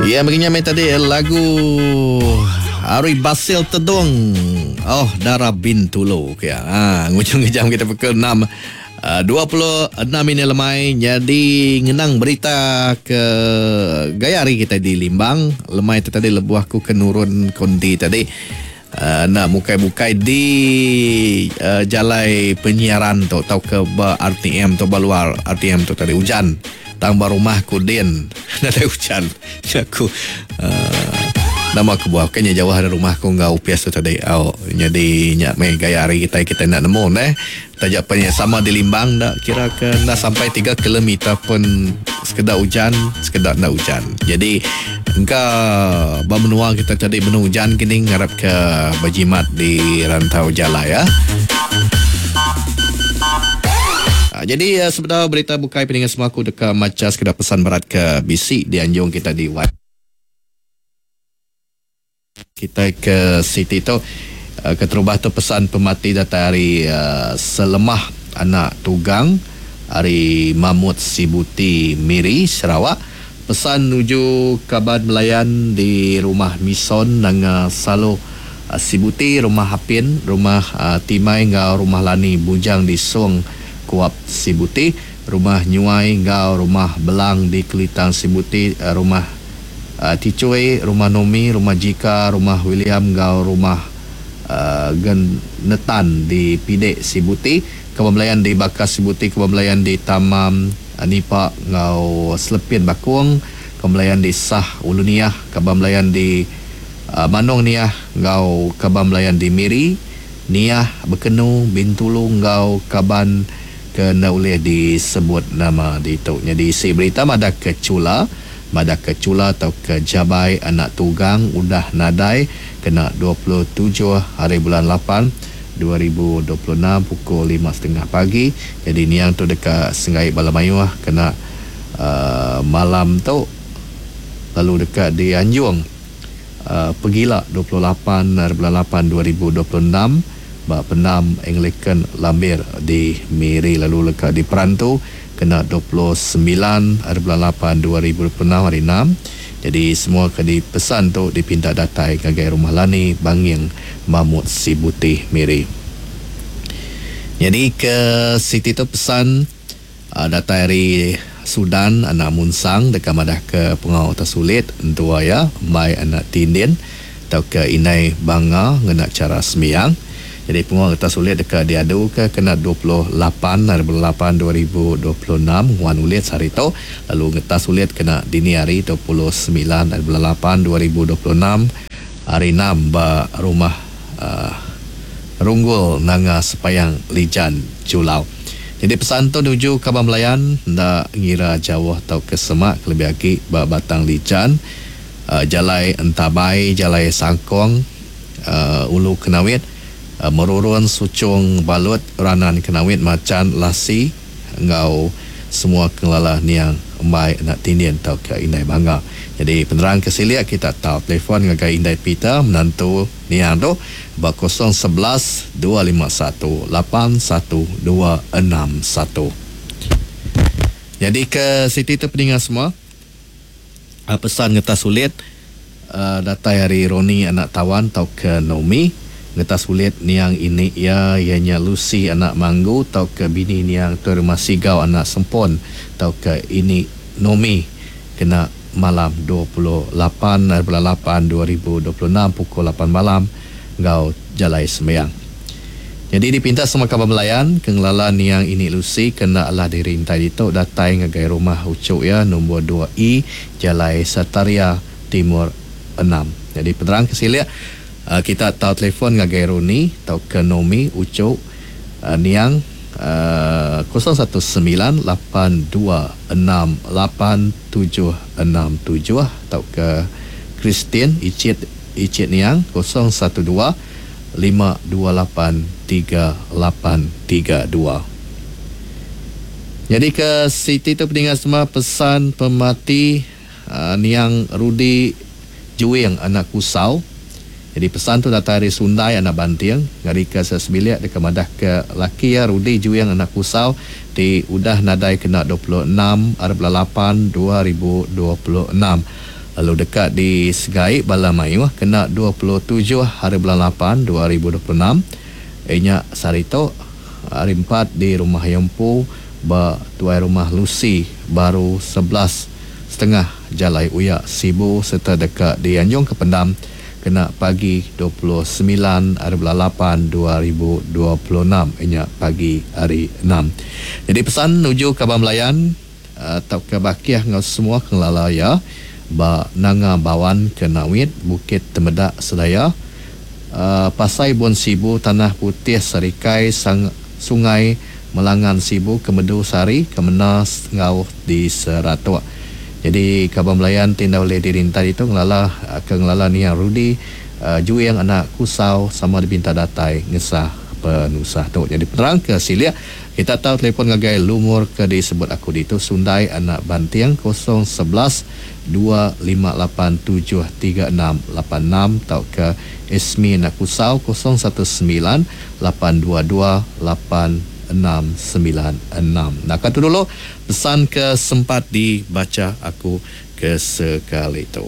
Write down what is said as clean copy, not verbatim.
Ya megi nya meh tadi lagu Ari Basil Tedung. Oh Dara Bintulu ke ya. Ha ngujung jam kita pukul 6 26 minit lemai nyadi ngenang berita ke gaya hari kita di Limbang lemai tu tadi lebuh aku ke nurun konti tadi enda mukai-mukai di jalai penyiaran tu tauka ba RTM tu ba luar RTM tu tadi ujan tang ba rumah ku din nadai ujan nya ku uhh nama kebuah bukai nya jauh ari rumah ku enggau opis tu tadi au nyadi nya meh gaya hari kitai kitai enda nemu neh. Taja pen iya sama di Limbang enda kira ke enda sampai tiga kilometer pun sekeda ujan sekeda enda ujan. Jadi engka ba menua kita tadi benung ujan kini ngarap ke bejimat di rantau jalai ya. Jadi sebedau berita bukai peninga semua aku deka macha sekeda pesan berat ke bisi dianjung kita di web. Kitai ke siti tu keterubah tu pesan pemati datai ari Selemah anak Tugang ari Mamut Sibuti Miri Sarawak. Pesan nuju kaban belayan di Rumah Mison Nanga Salo Sibuti, Rumah Apin, Rumah Timai enggau Rumah Lani Bujang di Song Kuap Sibuti, Rumah Nyuai enggau Rumah Belang di Kelitang Sibuti, Rumah Ticui, Rumah Nomi, Rumah Jika, Rumah William enggau Rumah Genetan di Pidek Sibuti, Kebun Belayan di Bakas Sibuti, Kebun Belayan di Tamam Nipa enggau Selepin Bakong, Kebun Belayan di Sah Ulu Niah, Kebun Belayan di Manong Niah enggau Kebun Belayan di Miri, Niah, Bekenu, Bintulu enggau kaban ke enda ulih disebut nama ditu. Nyadi isi berita madah ke Chula. Madahka Chula tauka Jabai anak Tugang udah nadai kena 27 hari bulan lapan, 2026 pukul lima setengah pagi. Nyadi niang tu deka senggai bala mayuh kena malam tu lalu deka dianjung pegila 28 hari bulan lapan, 2026 ba Pendam Anglican Lambir di Miri lalu deka diperantu Kena 29 hari bulan lapan 2026 hari enam, jadi semua ke dipesan tu dipinta datai ngagai Rumah Lani, Banging, Mamut Sibuti, Miri. Nyadi ke siti tu pesan datai ari Sudan anak Munsang deka madahka pengawa tesulit entua iya embai anak Tindin tauka indai Banga ngena chara sembiang. Nyadi pengawa ngetas ulit deka diaduka kena 28 hari bulan lapan 2026 nguan ulit sehari tu lalu ngetas ulit kena dini hari 29 hari bulan lapan 2026 hari enam ba Rumah Runggul Nanga Sepayang Lijan Julau. Nyadi pesan tu nuju kaban belayan enda ngira jauh tauka semak kelebih agi ba Batang Lijan, Jalai Entabai, Jalai Sangkong, Ulu Kenawit, Merurun, Suchong, Balut, Ranan Kenawit, Machan, Lasi enggau semua ke ngelala niang embai enda tindin tauka indai bangga. Nyadi penerang ke silik kita tau telefon ngagai indai Peter menantu niang tu ba 011 251 81261. Nyadi ke siti tu peninga semua. Pesan ngetas ulit datai ari Roni anak Tawan tauka Nomi. Ngetas ulit niang ini iya, iya nya Lucy anak Manggu tauka bini niang Tuai Rumah Sigau anak Sempon tauka ini Nomi kena malam 28 hari bulan lapan 2026 pukul lapan malam enggau jalai sembiang. Nyadi dipinta semua kaban belayan ke ngelala niang ini Lucy ke enda alah diri intai ditu datai ngagai rumah uchu iya nombor dua E Jalai Sataria Timur enam. Nyadi penerang ke silik kita tau telefon ngagai Roni tauka Nomi uchu niang 019 8 2 6 8 7 6 7 tauka Christine ichit ichit niang 012 5283832. Nyadi ke siti tu peninga semua pesan pemati niang Rudi Juing anak Kusau. Nyadi pesan tu datai ari Sundai anak Banting ngarika sesebilik deka madahka laki iya Rudi Juing anak Kusau ti udah nadai kena 26 ari bulan lapan 2026. Lalu deka disegai bala mayuh kena 27 hari bulan lapan 2026 iya nya sehari tu, Hari Empat di Rumah iya empu ba Tuai Rumah Lucy Baru 11 setengah Jalai Uyak Sibu sereta deka dianjung ke pendam kena pagi 29 hari bulan lapan 2026 iya nya pagi Hari Enam. Nyadi pesan nuju kaban belayan tauka bakih enggau semua ke ngelala iya ba Nanga Bawan ke Nawit, Bukit Temedak Sedaya, Pasai Bun Sibu, Tanah Putih Sarikai, Sungai Melangan Sibu, Kemedu Sari, Kemena enggau di Seratok. Nyadi kaban belayan ti enda ulih dirintai ditu ngelala ke ngelala niang Rudy Juing anak Kusau sama dipinta datai ngesah penusah tu. Nyadi penerang ke silik kita tau telefon ngagai lumur ke disebut aku ditu Sundai anak Banting 011 258 73686 tauka Esmi anak Kusau 019 822 8696. Naka tu dulu pesan ke sempat dibacha aku ke sekali tu.